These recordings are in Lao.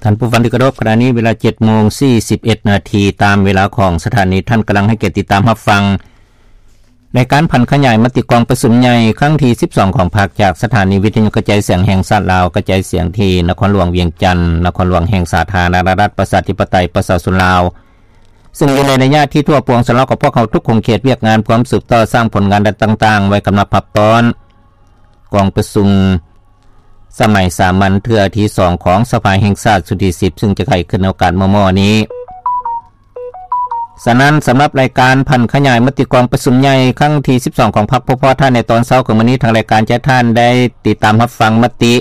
ທ່ານຜູ້ຟັງທີ່ເຄົາລົບ, ຂະນະນີ້ເວລາເຈັດໂມງສີ່ສິບເອັດນາທີ ຕາມເວລາຂອງສະຖານີ. ທ່ານກຳລັງໃຫ້ກຽດຕິດຕາມຮັບຟັງ ລາຍການຜັນຂະຫຍາຍມະຕິກອງປະຊຸມໃຫຍ່ຄັ້ງທີສິບສອງຂອງພັກ ຈາກສະຖານີວິທະຍຸກະຈາຍສຽງແຫ່ງຊາດລາວ, ກະຈາຍສຽງທີ່ນະຄອນຫຼວງວຽງຈັນ, ນະຄອນຫຼວງແຫ່ງສາທາລະນະລັດປະຊາທິປະໄຕປະຊາຊົນລາວ, ຊຶ່ງຢູ່ໃນໄລຍະທີ່ທົ່ວປວງຊາວລາວຂອງພວກເຮົາທຸກຂົງເຂດວຽກງານ ພວມສືບຕໍ່ສ້າງຜົນງານດ້ານຕ່າງໆ ໄວ້ກຳລັບຮັບຕ້ອນກອງປະຊຸມສະໄໝສາມັນເທື່ອທີສອງຂອງສະພາແຫ່ງຊາດຊຸດທີສິບ ຊຶ່ງຈະໄຂຂຶ້ນໃນໂອກາດມໍ່ໆນີ້. ສະນັ້ນ, ສຳລັບລາຍການຜັນຂະຫຍາຍມະຕິກອງປະຊຸມໃຫຍ່ຄັ້ງທີສິບສອງຂອງພັກ ພວກພວກທ່ານໃນຕອນເຊົ້າຂອງມື້ນີ້, ທາງລາຍການຈະໃຫ້ທ່ານໄດ້ຕິດຕາມຮັບຟັງມະຕິ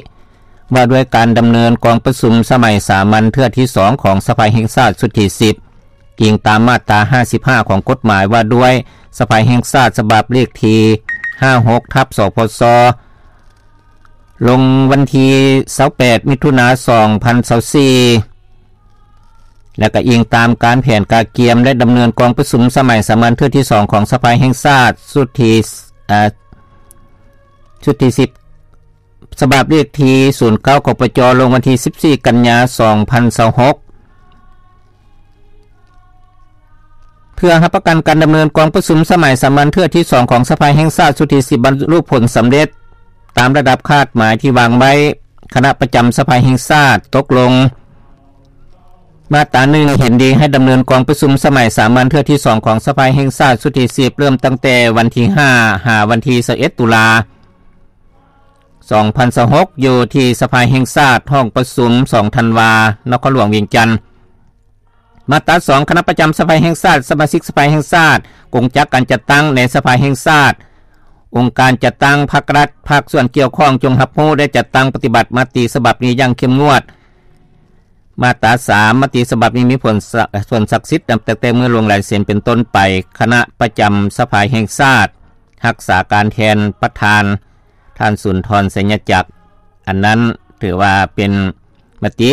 ວ່າດ້ວຍການດຳເນີນກອງປະຊຸມສະໄໝສາມັນເທື່ອທີສອງຂອງສະພາແຫ່ງຊາດຊຸດທີສິບ ອີງຕາມມາດຕາຫ້າສິບຫ້າຂອງກົດໝາຍວ່າດ້ວຍສະພາແຫ່ງຊາດ ສະບັບເລກທີຫ້າຫົກ ທັບ ສພຊ ລົງວັນທີຊາວແປດ ມິຖຸນາ ສອງພັນຊາວສີ່ ແລະ ກໍອີງຕາມການແຜນກະກຽມ ແລະ ດຳເນີນກອງປະຊຸມສະໄໝສາມັນເທື່ອທີສອງຂອງສະພາແຫ່ງຊາດຊຸດທີ ເອີ ຊຸດທີສິບ ສະບັບເລກທີສູນເກົ້າ ຂອງ ປຈ ລົງວັນທີສິບສີ່ ກັນຍາ ສອງພັນຊາວຫົກ ເພື່ອຮັບປະກັນການດຳເນີນກອງປະຊຸມສະໄໝສາມັນເທື່ອທີສອງຂອງສະພາແຫ່ງຊາດຊຸດທີສິບ ບັນລຸຜົນສຳເລັດຕາມລະດັບຄາດໝາຍທີ່ວາງໄວ້, ຄະນະປະຈຳສະພາແຫ່ງຊາດຕົກລົງມາດຕາໜຶ່ງ ເຫັນດີໃຫ້ດຳເນີນກອງປະຊຸມສະໄໝສາມັນເທື່ອທີສອງຂອງສະພາແຫ່ງຊາດຊຸດທີສິບ ເລີ່ມຕັ້ງແຕ່ວັນທີຫ້າ ຫາວັນທີຊາວເອັດ ຕຸລາ ສອງພັນຊາວຫົກ ຢູ່ທີ່ສະພາແຫ່ງຊາດ ຫ້ອງປະຊຸມສອງທັນວາ ນະຄອນຫຼວງວຽງຈັນ. ມາດຕາສອງ ຄະນະປະຈຳສະພາແຫ່ງຊາດ, ສະມາຊິກສະພາແຫ່ງຊາດ, ກົງຈັກການຈັດຕັ້ງໃນສະພາແຫ່ງຊາດ, ອົງການຈັດຕັ້ງພາກລັດ, ພາກສ່ວນກ່ຽວຂ້ອງ ຈົ່ງຮັບຮູ້ ແລະ ຈັດຕັ້ງປະຕິບັດມະຕິສະບັບນີ້ຢ່າງເຂັ້ມງວດ. ມາດຕາສາມ ມະຕິສະບັບນີ້ມີຜົນສະ ຜົນສັກສິດນັບຕັ້ງແຕ່ມື້ລົງລາຍເຊັນເປັນຕົ້ນໄປ. ຄະນະປະຈຳສະພາແຫ່ງຊາດ ຮັກສາການແທນປະທານ ທ່ານ ສຸນທອນ ໄຊຍະຈັກ. ອັນນັ້ນຖືວ່າເປັນມະຕິ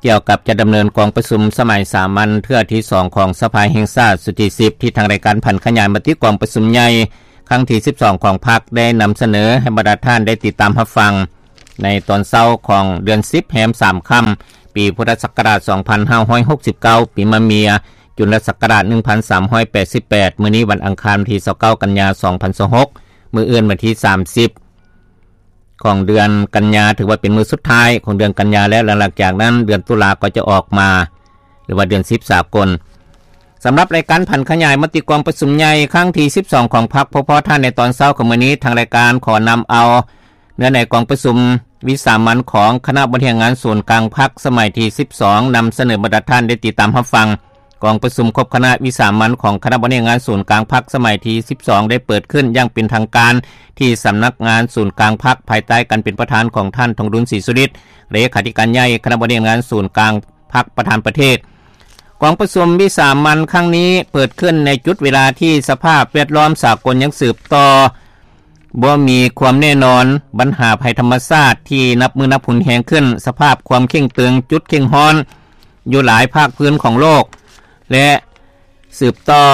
ກ່ຽວກັບຈະດຳເນີນກອງປະຊຸມສະໄໝສາມັນເທື່ອທີສອງຂອງສະພາແຫ່ງຊາດຊຸດທີສິບ ທີ່ທາງລາຍການຜັນຂະຫຍາຍມະຕິກອງປະຊຸມໃຫຍ່ຄັ້ງທີສິບສອງຂອງພັກ ໄດ້ນຳສະເໜີໃຫ້ບັນດາທ່ານໄດ້ຕິດຕາມຮັບຟັງ ໃນຕອນເຊົ້າຂອງເດືອນສິບ ແຮມສາມຄ່ຳ ປີພຸດທະສັກກະລາດສອງພັນຫ້າຮ້ອຍຫົກສິບເກົ້າ ປີມະເມຍ ຈຸນລະສັກກະລາດໜຶ່ງພັນສາມຮ້ອຍແປດສິບແປດ. ມື້ນີ້ວັນອັງຄານ ທີຊາວເກົ້າ ກັນຍາ ສອງພັນຊາວຫົກ, ມື້ອື່ນວັນທີສາມສິບຂອງເດືອນກັນຍາ ຖືວ່າເປັນມື້ສຸດທ້າຍຂອງເດືອນກັນຍາແລ້ວ. ຫຼັງຈາກນັ້ນເດືອນຕຸລາກໍຈະອອກມາ ຫຼືວ່າເດືອນສິບສາກົນ. ສຳລັບລາຍການຜັນຂະຫຍາຍມະຕິກອງປະຊຸມໃຫຍ່ຄັ້ງທີສິບສອງຂອງພັກ ພວກພວກທ່ານໃນຕອນເຊົ້າຂອງມື້ນີ້, ທາງລາຍການຂໍນຳເອົາ ເນື້ອໃນກອງປະຊຸມວິສາມັນຂອງຄະນະບໍລິຫານງານສູນກາງພັກສະໄໝທີສິບສອງ ນຳສະເໜີບັນດາທ່ານໄດ້ຕິດຕາມຮັບຟັງ. ກອງປະຊຸມຄົບຄະນະວິສາມັນຂອງຄະນະບໍລິຫານງານສູນກາງພັກສະໄໝທີສິບສອງ ໄດ້ເປີດຂຶ້ນຢ່າງເປັນທາງການທີ່ສຳນັກງານສູນກາງພັກ ພາຍໃຕ້ການເປັນປະທານຂອງທ່ານ ທອງລຸນ ສີສຸລິດ ເລຂາທິການໃຫຍ່ຄະນະບໍລິຫານງານສູນກາງພັກ ປະທານປະເທດ. ກອງປະຊຸມວິສາມັນຄັ້ງນີ້ເປີດຂຶ້ນໃນຈຸດເວລາທີ່ສະພາບແວດລ້ອມສາກົນຍັງສືບຕໍ່ ບໍ່ມີຄວາມແນ່ນອນ, ບັນຫາໄພທຳມະຊາດທີ່ນັບມື້ນັບຮຸນແຮງຂຶ້ນ, ສະພາບຄວາມເຄັ່ງຕຶງ, ຈຸດເຄັ່ງຮ້ອນຢູ່ຫຼາຍພາກພື້ນຂອງໂລກ ແລະ ສືບຕໍ່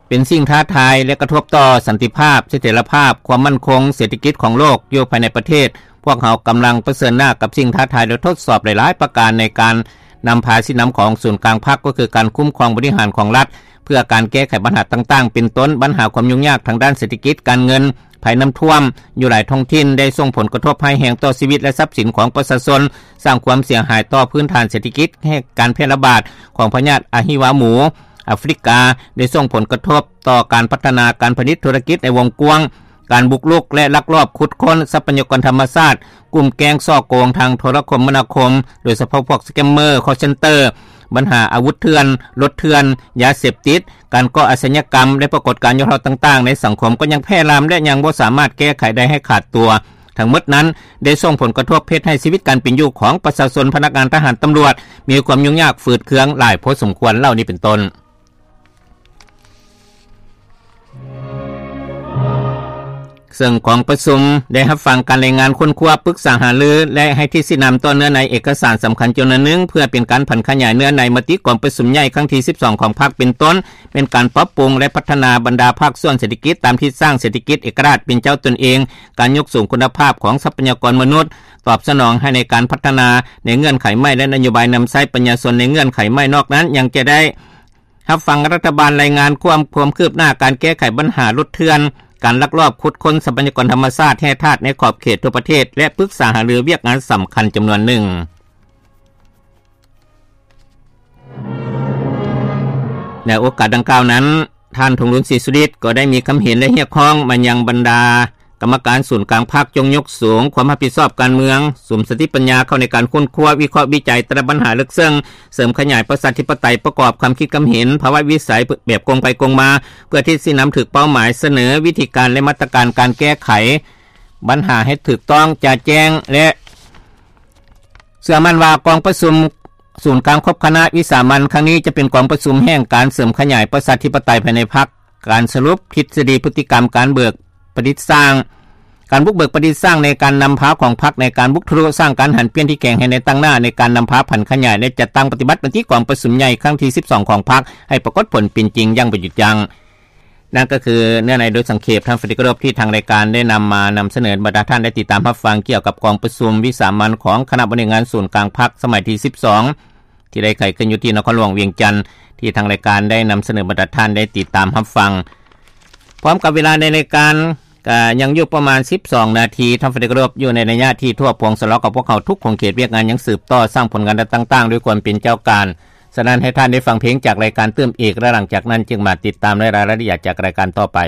ເປັນສິ່ງທ້າທາຍ ແລະ ກະທົບຕໍ່ສັນຕິພາບ, ສະຖຽນລະພາບ, ຄວາມໝັ້ນຄົງເສດຖະກິດຂອງໂລກຢູ່ພາຍໃນປະເທດ. ພວກເຮົາກຳລັງປະເຊີນໜ້າກັບສິ່ງທ້າທາຍ ແລະ ທົດສອບຫຼາຍໆປະການໃນການນຳພາຊີ້ນຳຂອງສູນກາງພັກ ກໍຄືການຄຸ້ມຄອງບໍລິຫານຂອງລັດ ເພື່ອການແກ້ໄຂບັນຫາຕ່າງໆ ເປັນຕົ້ນບັນຫາຄວາມຫຍຸ້ງຍາກທາງດ້ານເສດຖະກິດ, ການເງິນ, ໄພນ້ຳຖ້ວມຢູ່ຫຼາຍທ້ອງຖິ່ນໄດ້ສົ່ງຜົນກະທົບຮ້າຍແຮງຕໍ່ຊີວິດ ແລະ ຊັບສິນຂອງປະຊາຊົນ, ສ້າງຄວາມເສຍຫາຍຕໍ່ພື້ນຖານເສດຖະກິດ, ແລະ ການແຜ່ລະບາດຂອງພະຍາດອະຫິວາໝູອາຟຣິກາ ໄດ້ສົ່ງຜົນກະທົບຕໍ່ການພັດທະນາການຜະລິດທຸລະກິດໃນວົງກວ້າງ, ການບຸກລຸກ ແລະ ລັກລອບຂຸດຄົ້ນຊັບພະຍາກອນທຳມະຊາດ, ກຸ້ມແກ້ງສໍ້ໂກງທາງໂທລະຄົມມະນາຄົມ, ໂດຍສະເພາະພວກສະແກມເມີ, ຄໍເຊັນເຕີ, ບັນຫາອາວຸດເຖື່ອນ, ລົດເຖື່ອນ, ຢາເສບຕິດ, ການກໍ່ອາຊະຍາກຳ ແລະ ປາກົດການຫຍໍ້ທໍ້ຕ່າງໆໃນສັງຄົມກໍຍັງແຜ່ລາມ ແລະ ຍັງບໍ່ສາມາດແກ້ໄຂໄດ້ໃຫ້ຂາດຕົວ. ທັງໝົດນັ້ນໄດ້ສົ່ງຜົນກະທົບເຮັດໃຫ້ຊີວິດການເປັນຢູ່ຂອງປະຊາຊົນ, ພະນັກງານ, ທະຫານ, ຕຳຫຼວດ ມີຄວາມຫຍຸ້ງຍາກຝືດເຄືອງຫຼາຍພໍສົມຄວນ ເຫຼົ່ານີ້ເປັນຕົ້ນ. ເຊິ່ງກອງປະຊຸມໄດ້ຮັບຟັງການລາຍງານຄົ້ນຄວ້າ, ປຶກສາຫາລື ແລະ ໃຫ້ທິດຊີ້ນຳຕໍ່ເນື້ອໃນເອກະສານສຳຄັນຈຳນວນໜຶ່ງ ເພື່ອເປັນການຜັນຂະຫຍາຍເນື້ອໃນມະຕິກອງປະຊຸມໃຫຍ່ຄັ້ງທີສິບສອງຂອງພັກ ເປັນຕົ້ນແມ່ນການປັບປຸງ ແລະ ພັດທະນາບັນດາພາກສ່ວນເສດຖະກິດຕາມທິດສ້າງເສດຖະກິດເອກະລາດເປັນເຈົ້າຕົນເອງ, ການຍົກສູງຄຸນນະພາບຂອງຊັບພະຍາກອນມະນຸດ ຕອບສະໜອງໃຫ້ໃນການພັດທະນາໃນເງື່ອນໄຂໃໝ່ ແລະ ນະໂຍບາຍນຳໃຊ້ປັນຍາຊົນໃນເງື່ອນໄຂໃໝ່. ນອກນັ້ນຍັງຈະໄດ້ ຮັບຟັງລັດຖະບານລາຍງານຄວາມ ຄວາມຄືບໜ້າການແກ້ໄຂບັນຫາຫຼຸດເຖື່ອນ, ການລັກລອບຂຸດຄົ້ນຊັບພະຍາກອນທຳມະຊາດ, ແຮ່ທາດໃນຂອບເຂດທົ່ວປະເທດ ແລະ ປຶກສາຫາລືວຽກງານສຳຄັນຈຳນວນໜຶ່ງ. ໃນໂອກາດດັ່ງກ່າວນັ້ນ, ທ່ານ ທອງລຸນ ສີສຸລິດ ກໍໄດ້ມີຄຳເຫັນ ແລະ ຮຽກຮ້ອງມາຍັງບັນດາ ກຳມະການສູນກາງພັກ ຈົ່ງຍົກສູງຄວາມຮັບຜິດຊອບການເມືອງ, ສຸມສະຕິປັນຍາເຂົ້າໃນການຄົ້ນຄວ້າ, ວິເຄາະ, ວິໄຈແຕ່ລະບັນຫາເລິກເຊິ່ງ, ເສີມຂະຫຍາຍປະຊາທິປະໄຕ, ປະກອບຄວາມຄິດຄວາມເຫັນ, ພາວະວິໄສແບບກົງໄປກົງມາ, ເພື່ອທິດຊີ້ນຳຖືກເປົ້າໝາຍ, ສະເໜີວິທີການ ແລະ ມາດຕະການການແກ້ໄຂບັນຫາໃຫ້ຖືກຕ້ອງ, ຈະແຈ້ງ ແລະ ເຊື່ອໝັ້ນວ່າກອງປະຊຸມສູນກາງຄົບຄະນະວິສາມັນຄັ້ງນີ້ ຈະເປັນກອງປະຊຸມແຫ່ງການເສີມຂະຫຍາຍປະຊາທິປະໄຕພາຍໃນພັກ, ການສະຫຼຸບທິດສະດີພຶດຕິກຳການເບີກປະດິດສ້າງ, ການບຸກເບີກປະດິດສ້າງໃນການນຳພາຂອງພັກໃນການບຸກທະລຸສ້າງການຫັນປ່ຽນທີ່ແຂງໃຫ້ໃນຕາງໜ້າໃນການນຳພາຜັນຂະຫຍາຍ ແລະ ຈັດຕັ້ງປະຕິບັດມະຕິກອງປະຊຸມໃຫຍ່ຄັ້ງທີສິບສອງຂອງພັກ ໃຫ້ປາກົດຜົນເປັນຈິງຢ່າງບໍ່ຢຸດຢັ້ງ. ນັ້ນກໍຄືເນື້ອໃນໂດຍສັງເຂບ ທ່ານຟັງທີ່ເຄົາລົບ ທີ່ທາງລາຍການໄດ້ນຳມານຳສະເໜີບັນດາທ່ານໄດ້ຕິດຕາມຮັບຟັງ ກ່ຽວກັບກອງປະຊຸມວິສາມັນຂອງຄະນະບໍລິຫານງານສູນກາງພັກສະໄໝທີສິບສອງ ທີ່ໄດ້ໄຂຂຶ້ນຢູ່ທີ່ນະຄອນຫຼວງວຽງຈັນ ທີ່ທາງລາຍການໄດ້ນຳສະເໜີບັນດາທ່ານໄດ້ຕິດຕາມຮັບຟັງ. ພ້ອມກັບເວລາໃນລາຍການກໍຍັງຢູ່ປະມານສິບສອງນາທີ ທ່ານຟັງທີ່ເຄົາລົບ ຢູ່ໃນໄລຍະທີ່ທົ່ວປວງສະເລາະກັບພວກເຮົາທຸກຂົງເຂດວຽກງານຍັງສືບຕໍ່ສ້າງຜົນງານຕ່າງໆດ້ວຍຄວາມເປັນເຈົ້າການ. ສະນັ້ນໃຫ້ທ່ານໄດ້ຟັງເພງຈາກລາຍການຕື່ມອີກ ແລະ ຫຼັງຈາກນັ້ນຈຶ່ງມາຕິດຕາມໃນລາຍລະອຽດຈາກລາຍການຕໍ່ໄປ.